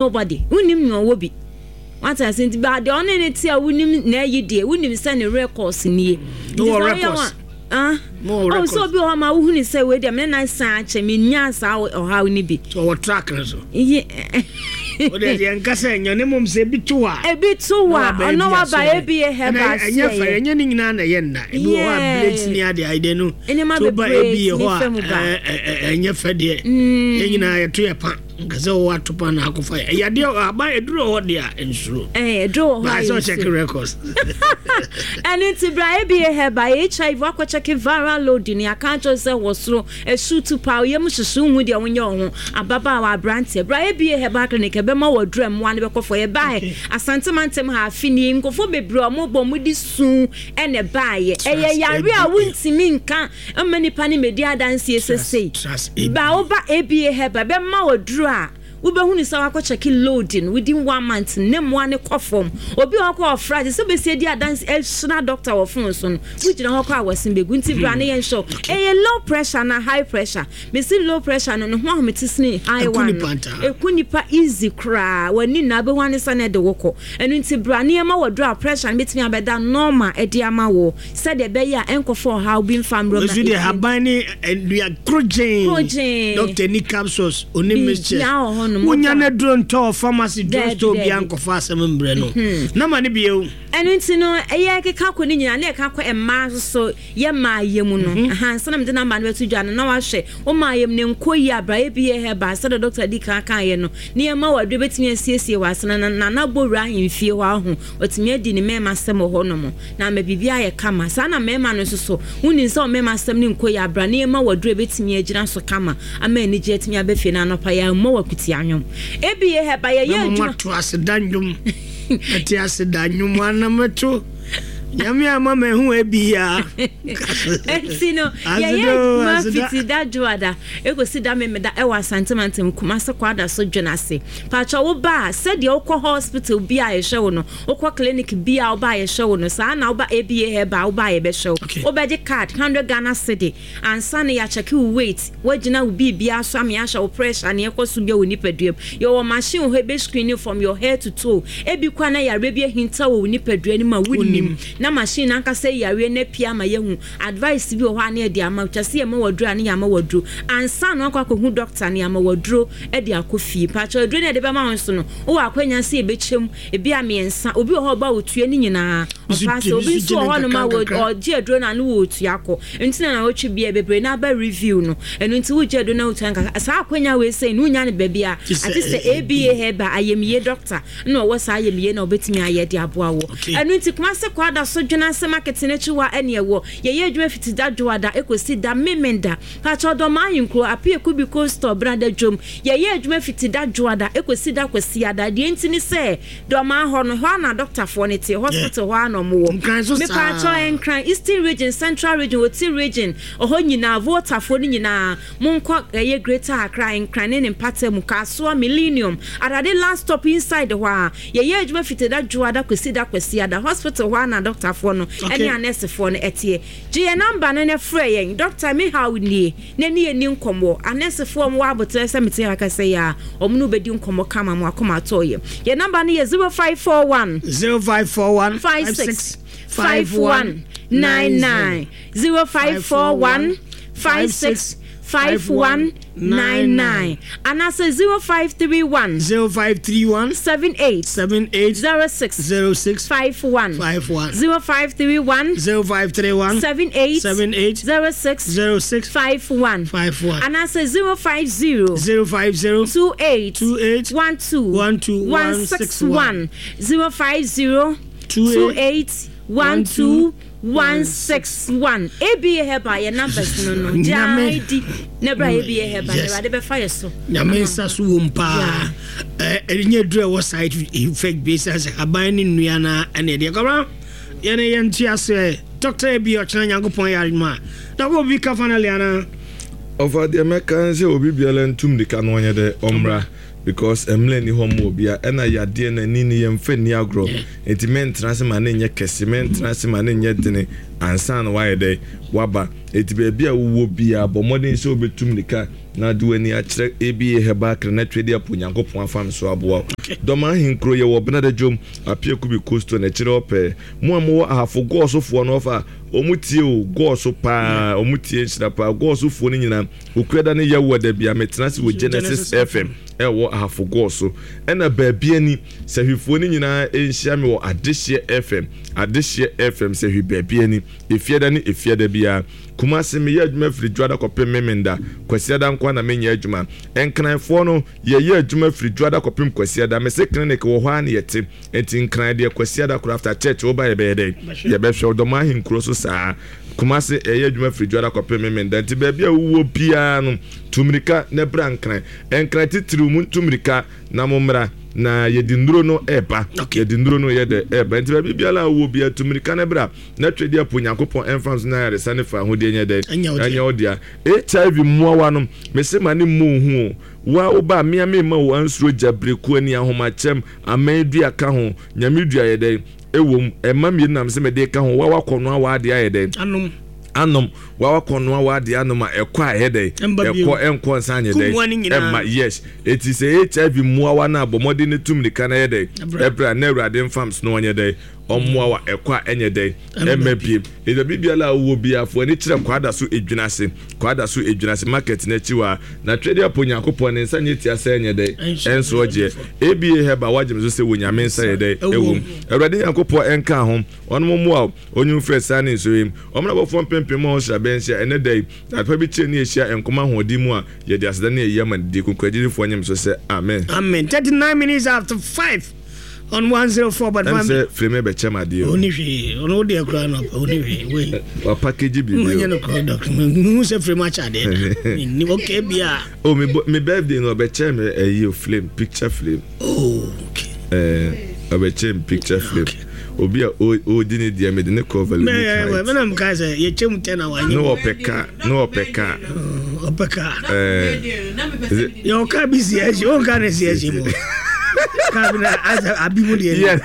Nobody. Wonnim nea ɔwɔ bi. Wate ase nti ba deɛ ɔne ne te a wonim na ayi deɛ wonim sɛ ne records nie. No wɔ records. Ah. No wɔ Oh, records. sɛ obi wɔ hɔ ma wohunu sɛ wei deɛ me ne nan san akyɛ menyaa saa ɔhaw no bi. So ɔwɔ track no so. Ye. Wode deɛ nka sɛ ɛnyɛ ne mmom sɛ ebi to a. Ebi to Na a waba ɔno ebi waba aso ebi yɛ Ɛna herbal ɛnyɛ fɛ asoɛyɛ. ɛnyɛ ne nyinaa na ɛyɛ nna. Ebi wɔ hɔ a blades ne Yeah. ade ayɛ no. Nneɛma So ba bebree ebi yɛ tumi hɔ a fa mu ba. ɛ- ɛ- ɛ- ɛnyɛ fɛ deɛ. Yɛn nyinaa yɛto yɛ pa. Nka sɛ wɔwɔ atopa na akɔfa yɛ. Ɛyɛ adeɛ aban eduro hɔ deɛ a nsuro. Ɛɛ eduro wɔ hɔ a Baa sɛ yɛnsuro. ɔkyɛke records. Ɛno nti bra ABA Herbal HIV wakɔ kyɛke viral load no yɛaka akyerɛ wo sɛ wɔ soro ɛsu tu paa wo yam hyehye wo hu deɛ wonyɛ wo ho ababaawa aberanteɛ bra ABA Herbal Clinic ɛbɛma wo aduru a mmoa no bɛkɔ fɔ yɛbaeɛ Asante mantam ha afe nie nkurɔfoɔ bebree a wɔbɔ wɔn de su ɛna ɛbaeɛ ɛyɛ yare a wontumi nka mma nipa no mmɛdi adanseɛ sesei ba woba ABA Herbal ɛbɛma wo aduru a Wobɛhunu sɛ wakɔ kyɛke load no within one month no ne mmoa no kɔ fam. Obi wɔ hɔ koraa ɔfrɛ a te sɛ wobɛsi adi adanse ahyira doctor wɔ phone so no wogyina hɔ koraa a wɔsen bɛgu nti bra na yɛnhwɛ wo. Ɛyɛ low pressure anaa high pressure? Mese low pressure no ne ho ahomete sene high Ɛku one nipa no. ntaa. Ɛku nipa easy koraa w'ani nna wobɛhu ane sɛ na ɛde wo kɔ. Ɛno nti bra na yɛma wo aduro a pressure no bɛtumi abɛda normal de ama wo sɛdeɛ ɛbɛyɛ a ɛnkɔfa ɔhaw bi mfa mmerɛ wo na Nso deɛ ɛfiri haban ne nnua korogyen. Korogyen. Doctor ni capsules oni mixtures. Biribiara wɔ hɔnom. Wonya no aduro ntɔ wɔ pharmacy drug store Daabi, biara daabi. nkɔfa asɛm mbrɛ no. Na ma no bio. Ɛno nti no, ɛyɛ keka kɔ ne nyinaa na ɛka kɔ mmaa nso so yɛ mmaa yɛ mu no. Aha, ansa na mede namba no bɛto dwa no na wahwɛ wo mmaa yɛ mu no nkɔ yie a bra yɛ bi yɛ herbal sɛdeɛ dɔkta di kan kaeɛ no ne yɛma wo aduro bɛtumi asiesie w'asene no na nana bɔ wura ahemfie hɔ aho watumi adi ne mmarima asɛm wɔ hɔnom na ama biribi ayɛ kama. Saa na mmarima no nso so, wonim sɛ wɔn mmarima asɛm no nkɔ yie a, bra na yɛmma wo aduru a ɛbɛtumi agyina so kama ama anigyeɛ atumi aba fie na anɔpa yɛammɔ wo akutia nnwom. Ebie hɛba, yɛyɛ Na adwuma. moato aseda nnwom. Mɛte aseda nnwom ana mɛto Nyame ama mahu ebia. Enti no, yɛyɛ adwuma fiti da dwoada ekosi da memeda ɛwɔ Asante Mantam, Kumase Kwadaso Dwenase. Pakyɛ wo ba a, sɛdeɛ wokɔ hospital bi a yɛhwɛ wo no, Wokɔ clinic bi a woba a yɛhwɛ wo no, saa na woba ABA Herbal a woba a yɛbɛhwɛ wo. Wobɛgye card, hundred Ghana cedi, ansa na yɛakyɛke wo weight, woagyina wo biribiara so ama yɛahwɛ wo pressure, nea ɛkɔ so biara wɔ nipadua mu. Yɛwɔ machine wɔ hɔ a ɛbɛ screen wo from your head to toe. Ebi koraa na yareɛ bi ahinta wɔ wo nipadua no mu a wonnim, na machine no ankasa ayi yareɛ no apue ama yɛahu. Advice bi wɔ hɔ a na yɛde ama wo, twa sɛ yɛma wo aduro a na yɛama wo aduro. Ansa na woakɔ akɔhu doctor no, yɛama wo aduro de akɔ fie. Mpakyɛw aduro no a yɛde bɛma wo nso no, wowɔ akwanya sɛ yɛbɛkyɛ mu. Ebi a mmiɛnsa, obi wɔ hɔ a ɔba a otua ne nyinaa, ɔfa ase. Obi nso wɔ hɔnom a ɔgye aduro no a na ɔretua kɔ. Nti na nawɔtwe biara bebree no aba review no. Ɛno nti wogye aduro no na wotua nkakra. Saa akwanya wei sei no wonnya no baabi a, agye sɛ ABA Herbal ayamye doctor na ɔwɔ saa ayamye no a ɔbɛtumi ayɛ de aboa wo. Ɛno nti Kumasi Kwada so Dwenase Market no akyi hɔ a ɛne ɛwɔ. Yɛyɛ adwuma fiti da Dwoada ɛkɔsi da Memenda. Pakyɛ Ɔdɔmaa Ahenkuro, Appiah Kubi Cold Store, Brada Dwom. Yɛyɛ adwuma fiti da Dwoada kosi da Kwasiada. Deɛ nti ne sɛ, Dɔmaa hɔ no, hɔ ara na adɔktafoɔ no te, hospital hɔ ara na wɔwɔ. Nkran nso saa. Mepaakyɛw, Nkran, Eastern Region, Central Region, Oti Region, ɛhɔ nyinaa, Voltafoɔ no nyinaa, monkɔ ɛyɛ Greater Accra, Nkran ne ne mpata mu, Kasoa, Millennium, Adade last stop inside hɔ ara. Yɛyɛ adwuma fiti da Dwoada kosi da Kwasiada. Hospital hɔ ara na adɔktafoɔ no ne anɛɛsefoɔ no teɛ. Gye yɛn nɔmba no na frɛ yɛn. Dɔkta, me haw nie. Na ne yɛnni nkɔmmɔ. Anɛɛsefoɔ a wɔwɔ aboterɛ sɛ mete ha kasa yi ara, wɔn ne wo bɛdi nkɔmmɔ kama ma w'akoma atɔ wo yam. Yɛn nɔmba no yɛ 0541. 0541. 56 51 99. 0541 56 51 99. Anaasɛ 0531. 0531. 78. 78. 06. 06. 51. 51. 0531. 0531. 78. 78. 06. 06. 51. 51. Anaasɛ 050. 050. 28. 28. 12. 12. 161. 050. 28. 12. 161. ABA Herbal yɛ numbers no no. Nyame. Gyaa di na bra ABA Herbal na Yes. Awurade bɛfa yɛ so. Nyame nsa so wom paa. Ɛnyɛ duru a ɛwɔ side effect bi sɛ sɛ haban ne nnua na ɛne ɛdeɛ kɔbra yɛne yɛnte aseɛ Dr. Abi ɔkyena Nyankopɔn yɛ adwuma a na wɔ bi ka finally anaa. Ɔfa deɛ mɛka ne sɛ obi biara ntu mmirika na ɔnyɛ dɛ ɔmmra because mmerɛ nni hɔ mma obia ɛna yadeɛ no ani no yɛmfa nni agorɔ nti mɛntena ase ma no nyɛ kɛse mɛntena ase ma no nyɛ dene ansa na wayɛ dɛ waba. Enti baabi a wowɔ biara, bɔ mmɔden sɛ wobɛtu mmirika na de w'ani akyerɛ ABA Herbal Clinic na Twɛdi Apo Onyankopɔn afa me so aboa wo. Dɔm ahenkuro, yɛwɔ Benada Dwom, Apiakubi Coastal no akyire hɔ pɛɛ. Mo a mowɔ Ahafo Gɔɔsofoɔ no ɔfa, wɔn tie o, Gɔɔso paa, wɔn tie nhyira paa. Gɔɔsofoɔ no nyinaa, Okuada ne Yawuada biara, metena ase wɔ Genesis FM ɛwɔ Ahafo Gɔɔso. Ɛna baabi ani, Sahwifoɔ no nyinaa nhyia me wɔ Adehyeɛ FM, Adehyeɛ FM, Sahwi baabi ani. Efiada ne Efiada biara. Kumasi, meyɛ adwuma firi Dwoada kɔpem Memenda. Kwasiada nko ara na menyɛ adwuma. Nkranfoɔ no, yɛyɛ adwuma firi Dwoada kɔpem Kwasiada. Mese clinic wɔ hɔ ara na yɛte. Nti Nkran deɛ Kwasiada koraa after church woba yɛbɛyɛ dɛn? Yɛbɛhwɛ wo. Dɔm ahenkuro so saa. Kumasi, yɛyɛ adwuma firi Dwoada kɔpem Memenda. Nti baabi a wowɔ biara no, tu mmirika na bra Nkran. Nkran titiriw, montu mmirika. Na mo mmra, na yɛde nnuro no reba. Yɛde nnuro no yɛ dɛ reba. Nti baabi biara a wowɔ biara, tu mmirika na bra, na Twedeɛ po Nyankopɔn ɛmfa nso na ayaresa ne fawohodie nyɛ dɛn? Ɛnyɛ wo dea. HIV mmoawa no, mese ma ne mmɔ wo hu o. Wo a woba a, mea memma wo ansuro gya, birekuo, ani, ahomakyɛm, aman dua ka ho, Nyame dua yɛ dɛn? Ɛwom, ɛmma mmienu na mese mede reka ho, wo a woakɔnoa w'adeɛ ayɛ dɛn? Anom. Anom, wo a woakɔnoa w'adeɛ anom a, ɛkɔ a ɛyɛ dɛn? Ɛkɔ, ɛnkɔ nsan nyɛ dɛn? Ɛmma, yes. Enti sɛ HIV mmoawa no a, bɔ mmɔden na tu mmirika na yɛ dɛn? Ɛbra, na Awurade mfa mso na ɔnyɛ dɛn? Ɔmmoa wo a, ɛkɔ a ɛnyɛ dɛn? Ɛmma biem. Enti baabi biara a wowɔ biara, fa w'ani kyerɛ Kwadaso Edwinase, Kwadaso Edwinase market no akyi hɔ ara. Na Twedeapo Nyankopɔn ne nsa nyɛ tia sɛ ɛnyɛ dɛn? Ɛnso ɔgyeɛ. ABA Herbal wagye me so sɛ wɔ Nyame nsa yɛ dɛn? Ɛwɔ mu. Awurade Nyankopɔn ɛnka ho, ɔnom mmoa wo, ɔnyi wo mfiri asiane ne nsɔhwɛ mu. Ɔmmra abɔfoɔ mpempem mu a ɔnhyira bɛ nhyia ɛnnɛ da yi. Na adepa bi kyerɛ ne yɛhyia nkɔm ahoɔden mu a, yɛde aseda ne ayie ama ne din kronkron. Agyidifoɔ nye me so sɛ, Amen. Amen. 39 minutes after 5 on 104.5. Ɛm sɛ Frame bɛkyɛ me adeɛ o. Ɔni hwee, ɔno wo deɛ koraa no ɔni hwee. Wei. Wa package biribi o. Nyɛ no korɔ dɔk. Mehu sɛ Frame akyɛ adeɛ da. Menni okay bia. Oh me me birthday no ɔbɛkyɛ me ɛyi o flame picture flame. Oh okay. Ɛɛ ɔbɛkyɛ me picture flame. Okay. Obi a ɔdi ne deɛ mede ne kɔ Valonic Heights. Mɛ mɛ mka sɛ yɛkyɛ mu tɛ na wanyɛ. Ne ɔpɛ kaa ne ɔpɛ kaa. Ɔpɛ kaa. Ɛɛ. Yɛ ɔka bi si ɛhye ɔnka ne si ɛhye mu. Kaa bi na asɛ abi mu deɛ. Yes.